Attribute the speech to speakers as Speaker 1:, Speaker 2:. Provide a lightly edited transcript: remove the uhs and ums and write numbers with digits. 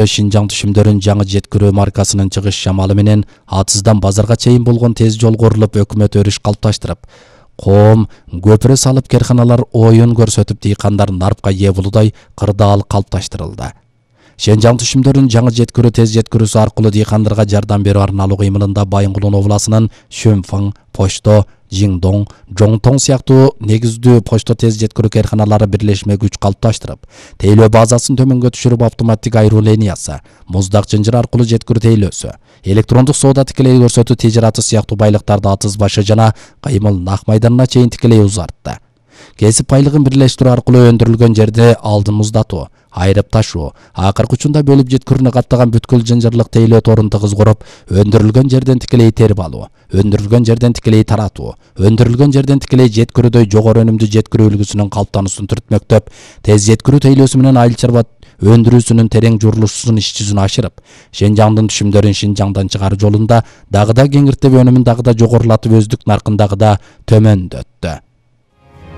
Speaker 1: Шинжаң түшүмдөрүн жаңы жеткирүү маркасынын чыгыш шамалы менен атыздан базарга чейин болгон тез жол курулуп, өкмөт өрүш калыпташтырып, коом көпүрө салып, керканалар оюн көрсөтүп, дыйкандар нарпка ээ болуудай кырдаал калыпташтырылды. Шинжаң түшүмдөрүн жаңы жеткирүү тез жеткирүүсү аркылуу дыйкандарга жардам берүү арналуу кыймылында Байынгулун областынын Шөнфаң, Почто, Жиңдоң, Жоңтоң сыяктуу негиздүү почто тез жеткирүү керканалары бирлешме күч калыпташтырып, тейлөө базасын төмөнгө түшүрүп, автоматтик айруу линиясы, муздак жынжыр аркылуу жеткирүү тейлөөсү, электрондук соода тикелей көрсөтүү тижараты сыяктуу байлыктарды атыз башы жана кыймыл нак майданына чейин тикелей узартты. Кесип байлыгын бирлештирүү аркылуу өндүрүлгөн жерди алдын муздатуу, айрып ташуу, акыркы учунда бөлүп жеткирүүнү каттаган бүткүл жынжырлык тейлөө торун тыгыз куруп, өндүрүлгөн жерден тикелей терип алуу, өндүрүлгөн жерден тикелей таратуу, өндүрүлгөн жерден тикелей жеткирүүдөй жогору өнүмдүү жеткирүү үлгүсүнүн калыптануусун түртмөктөп, тез жеткирүү тейлөөсү менен айыл чарба өндүрүүсүнүн терең журулушун иш жүзүнө ашырып, Шинжаңдын түшүмдөрүн Шинжаңдан чыгаруу жолунда дагы да кеңиртип, өнүмүн дагы да жогорулатып, өздүк наркын дагы да төмөндөттү.